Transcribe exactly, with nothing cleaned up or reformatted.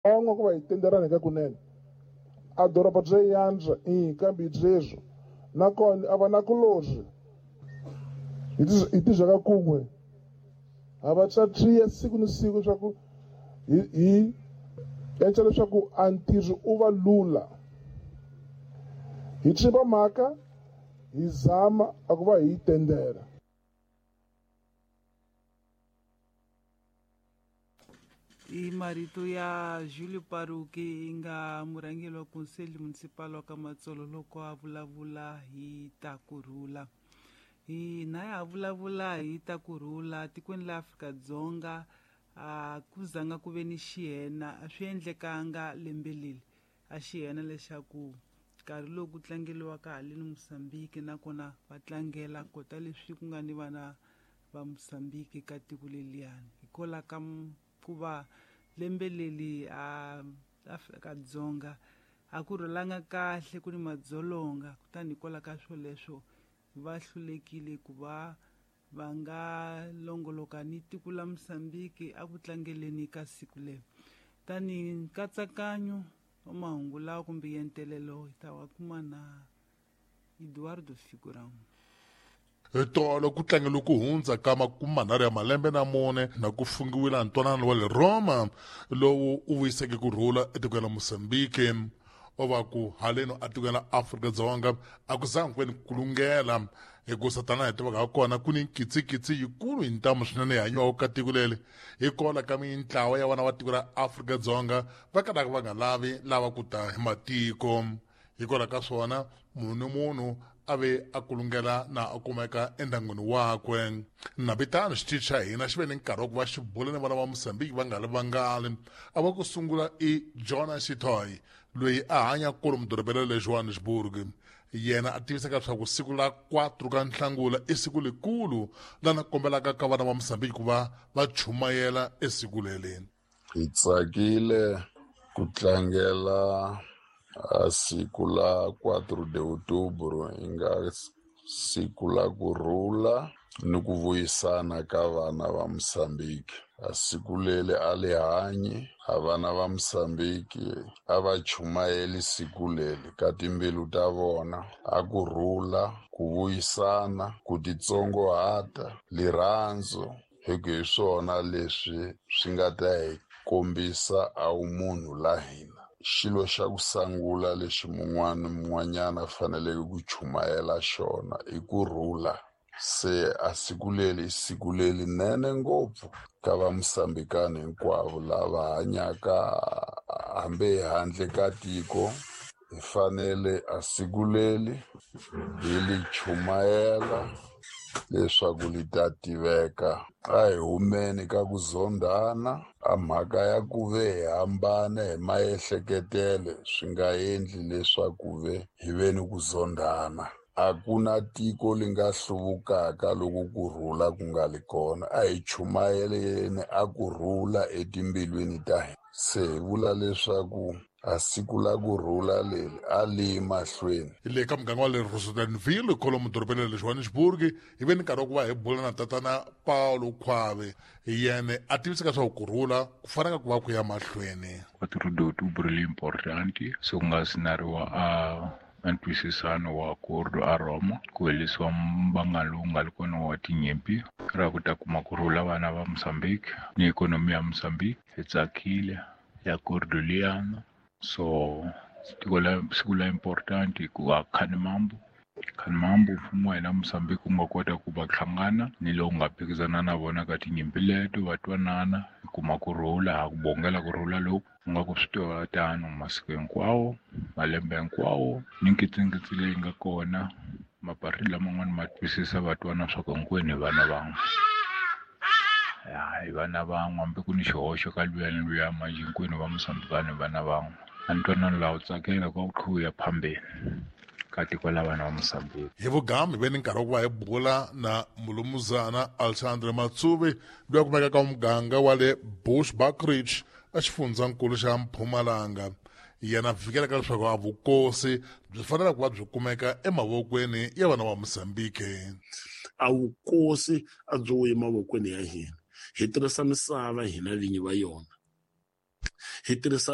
Ku va hi tenderana hi kunene a doroba bya yantswa i kambe byeswo nakona a va na kulozwi hi tizhaka kun'we ha va tsatriya siku ni siku leswaku hi hi endla leswaku a ntirho u va lula hi tshimba mhaka hi zama a ku va hi tendera. I marito ya Julio Paruki nga murhangeri wa Conselho Municipal wa Kamatsolo loko a vulavula hi ta kurhula. Hina ya vulavula hi ta kurhula tikweni la Afrika-Dzonga a ku zanga ku ve ni xiyena a swi endlekanga lembe leri a xiyena leswaku nkarhi lowu ku tlangeliwaka haleni Mozambique nakona va tlangela kota leswi ku nga ni vana va Mozambique ka tiko leliyani hikwalaho ka ku va lembe leri a Afrika-Dzonga a ku rhulanga kahle ku ni madzolonga kutani hikwalaho ka swoleswo va hlulekile ku va va nga longoloka ni tiko la Mozambique a ku tlangeleni ka siku leri. Tani nkatsakanyo wa mahungu lawa kumbe yentelelo hi ta wa kuma na Eduardo Figurão. Tolo ku tlangela ku hundza ka makume manharhu ya malembe na mune na ku fungiwile ntwanano wa le Roma lowu u vuyiseke ku rhula etikweni la Mozambique. O va ku haleno etikweni la Afrika-Dzonga a ku zanga ku ve ni kulungela hikusa tanihi tivaka ha kona ku ni nkitsikitsi yikulu hi ntamu swinene yi hanyiwaka ka tiko leri hikwalaho ka mintlawa ya vana va tiko ra Afrika-Dzonga va kalaka va nga lavi lava ku ta hi matiko. Hikwalaho ka swona munhu ni munhu a ve a kulungela na a kumeka endyangwini wakwe. Nabitano xitichi xa hina xi ve ni nkarhi wa ku va xi bula ni vana va Mozambique va nga ri vangali. A va ku sungula i Jonas Shitoy loyi a hanya kulu mudorobeni le Johannesburg. Yena a tivisaka leswaku siku la quatro ka Nhlangula i siku lekulu lana kombelaka ka vana va Mozambique ku va va chumayela esiku leri. Hi tsakile ku tlangela a siku la quatro de outubro yi nga siku la kurhula ni ku vuyisana ka vana va Mozambique. A siku leri a li hanyi a vana va Mozambique a va chumayeli siku leri ka timbilu ta vona a kurhula, ku vuyisana, ku titsongohata, lirhandzu hi ku hi swona leswi swi nga ta hi kombisa a wumunhu la hina. Xilo xa ku sungula lexi mun'wana ni mun'wanyana a faneleke ku chumayela xona i kurhula. Se a siku leri i siku lerinene ngopfu ka va Mozambikani hinkwavo lava hanyaka hambi handle ka tiko. Hi fanele a siku leri hi li chumayela leswaku li ta tiveka. A hi humeni ka ku zondhana, a mhaka ya ku ve hi hambana hi maehleketelo swi nga endli leswaku ve hi ve ni ku zondhana. A ku na tiko li nga hluvukaka loko kurhula ku nga li kona. A hi chumayeleni a kurhula etimbilwini ta hina. Se hi vula leswaku a siku la kurhula leri a li yi mahlweni. Hi le ka muganga wa le Rosettenville kwalomu dorobeni ra le Johannesburg hi ve ni nkarhi wa ku va hi bula na tatana Paulo Khwave. Hi yena a tivisaka leswaku kurhula ku fanele ku va ku ya mahlweni. quatro de outubro li importante se ku nga sinariwa a ntwisisano wa acordo a Roma ku herisiwa mbanga lowu nga ri kona wa tinyimpi ra ku ta kuma kurhula vana va Mozambique ni ikhonomi ya Mozambique hi tsakile ya acordo liyana. So tiko la siku la important hikuva Khanimambu Khanimambu mfumo wa hina Mozambique wu nga kota ku va hlangana ni lowu nga phikizana na vona ka tinyimpi leto va twanana hi kuma kurhula ha ku bongela kurhula loku u nga ku swi tiva tano masiku hinkwawo malembe hinkwawo ni nkitsikitsi leyi nga kona maparti laman'wana ma twisisa va twana swa ku hinkwenu hi vana van'we. Ya hi vana van'we hambi ku ni xihoxo ka luya ni luya manjhe hinkwenu va Mozambikani hi vana van'we. A ntwanano laha wu tsakela ku kha wu ya phambeni ka tiko la vana va Mozambique. Hi vugamu hi ve ni nkarhi wa ku va hi bula na mulumuzana Alexandre Matsuvi loyi a kumekaka ka muganga wa le Bushbuckridge a xifundzankulu xa Mpumalanga. Yena fikela ka leswaku a vukosi byi fanele ku va byi kumeka emavokweni ya vana va Mozambique. A vukosi a byi wuyi emavokweni ya hina. Hi tirhisa misava hina vinyi va yona. Hi tirhisa